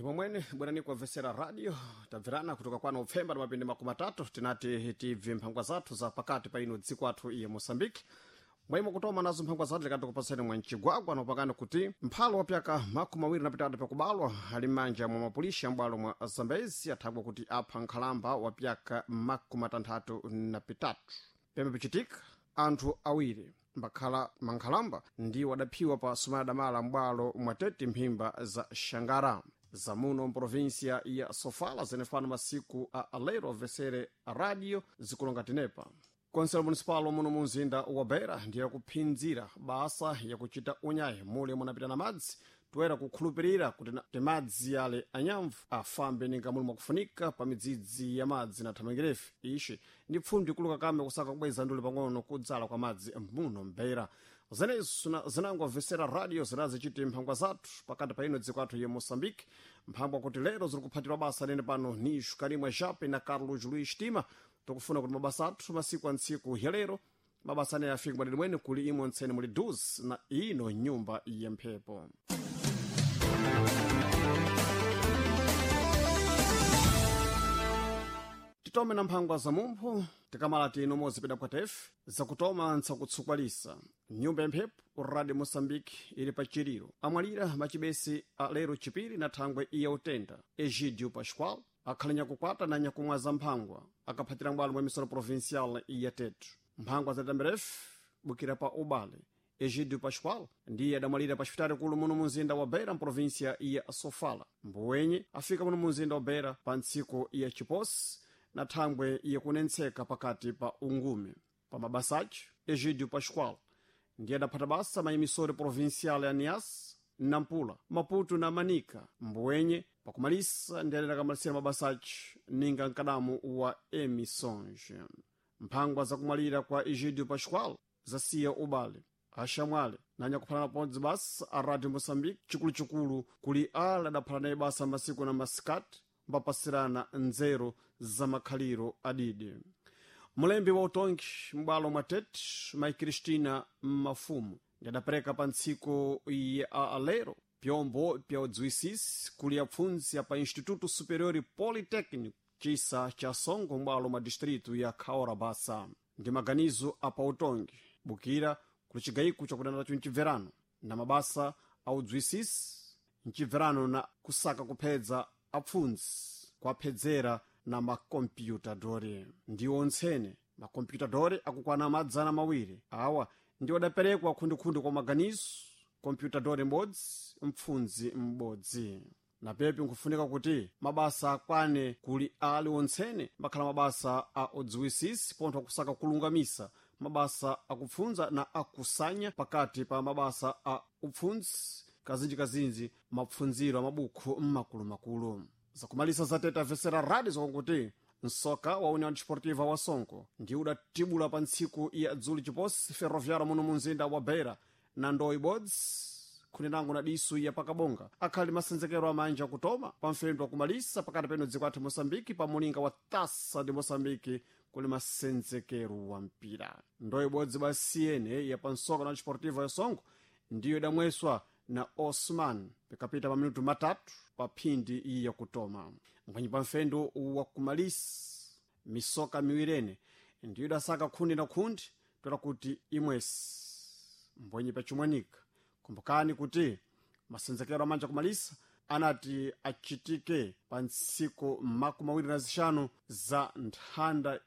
Ndimo mwene bwerani kuwamvetsera radio tabverana kutoka kwano upfemba na mapindi 30 tinati tibve mphangwa zathu za pakati pa ino dziko athu iye Moçambique. Mwaimo kutoma nazo mphangwa zathu likati kupasani mwa mchigwagwa nopakana kuti mphalo wa pyaka 23 pakubalwa ali m'manja mwa mapulisha m'bwalo mwa Zambezi athagwa kuti apha nkhalamba wa pyaka 63. Pembe pichitika anthu awiri mbakhala mankhalamba ndiwo adaphiwa pa sumana damala m'bwalo mwa Tete mphimba za Xangara zamuno mprovinsia ya Sofala zenefano masiku a alero avesere radio zikulonga tenepa. Konselo municipal muno mu mzinda wa Beira ndiye kuphinzira basa yakuchita unyayi mule munapita na madzi toera kukhulupirira kuti timadzi ale anyamvu afambe ninga muli mwakufunika pa midzidzi ya madzi na thamangirefe. Ishi ndi pfundi kuluka kame kusaka kubweza ndule pang'ono kudzala kwa madzi muno mbeira. Zenezo zinango vesera radio zinazichiti mphangwa zathu pakati pa ino dziko athu ye Moçambique. Mphangwa kuti lero ziri kuphatirwa basa lene pano ni Karimwa Jape na Carlos Luis Tima tikufuna kuti mabasa athu masiku antsiku ya lero mabasa ane afike mwadidi mwene kuli imwe ntsene muli dus na ino nyumba ya mphepo. Titome na mphangwa za mumphu tikamala tino mozipita kwa tefe zakutoma ntsakutsukwalisa nyumba ya mphepo Radio Moçambique ili pa chiliro amwalira machibesi a lero chipiri na thangwe iya utenda Egidio Pascoal akhali nyakukwata na nyakumwa za mphangwa akaphatira mbwalo mwa misolo provincial iya Tetu. Mphangwa za tamberefu bukira pa ubale Egidio Pascoal ndiye adamwalira pa xipitali kulu muno munzinda wa Beira mprovinsia ya Sofala. Mbuwenye afika muno munzinda wa Beira pa ntsiku ya chiposi na thangwe yakunentseka pakati pa ungume. Pa mabasa ace Egidio Pascoal ndiye adaphata basa mayimisori provincial ya Niassa, Nampula, Maputo na Manica. Mbuwenye pakumalisa ndiye adakamalisira mabasa ace ninga mkadamu wa emissões. Mphangwa zakumwalira kwa Egidio Pascoal zasiya ubale axamwale na nyakuphalana pamodzi basa a Radio Moçambique chikuluchikulu kuli ala adaphala naye basa masiku na masikati mbapasirana nzeru za makhaliro adidi. Mulembi wa utongi m'bwalo mwa Tete mai Cristina Mafumu ndi adapereka pa ntsiku ya alero pyombo pya udziwisisi kuli apfundzi apa Instituto Superior Politécnico cisa cha Songo m'bwalo mwa distrito ya Kaora Basa. Ndi maganizo apa utongi bukira kuli cigayiko chakudana mcibverano na mabasa a udziwisisi mcibverano na kusaka kuphedza apfundzi kuaphedzera na makompyutadori. Ndiwo ntsene makompyutadori akukwana 200 awa ndiwo adaperekwa khundikhundi kwa maganizo kompyutadori m'bodzi mpfundzi m'bodzi. Na pepi nkufunika kuti mabasa akwane kuli ali ontsene makhala mabasa a udziwisisi pontho akusaka kulungamisa mabasa akupfundza na akusanya pakati pa mabasa a upfundzi kazinjikazinji mapfundziro a mabukhu mmakulumakulu. Zakumalisa zateta vesera radio zakuti nsoka wa União Desportiva wa Songo ndi udatibula pa ntsiku ya dzuli chiposi Ferroviário muno munzinda wa Beira na ndoi bodzi khunenango na disu ya pakabonga akhali masenzekero amanja kutoma pa mfendo wakumalisa pakati peno dziko athu Moçambique pa mulinga wa Taça de Moçambique kuli masenzekero wa mpira. Ndoi bodzi basiyene ya pansoka na Desportiva ya Songo ndiyo idamweswa na Osman pikapita pa minutu 3 pa phindi iyi yakutoma. Mphwanyi pa mfendo wakumalisa misoka miwirene ndiyo idasaka khundi na khundi tola kuti imwesi mbwenyi pachimwanika. Kumbukani kuti masenzekero amanja kumalisa anati achitike pa ntsiku 25 za nthanda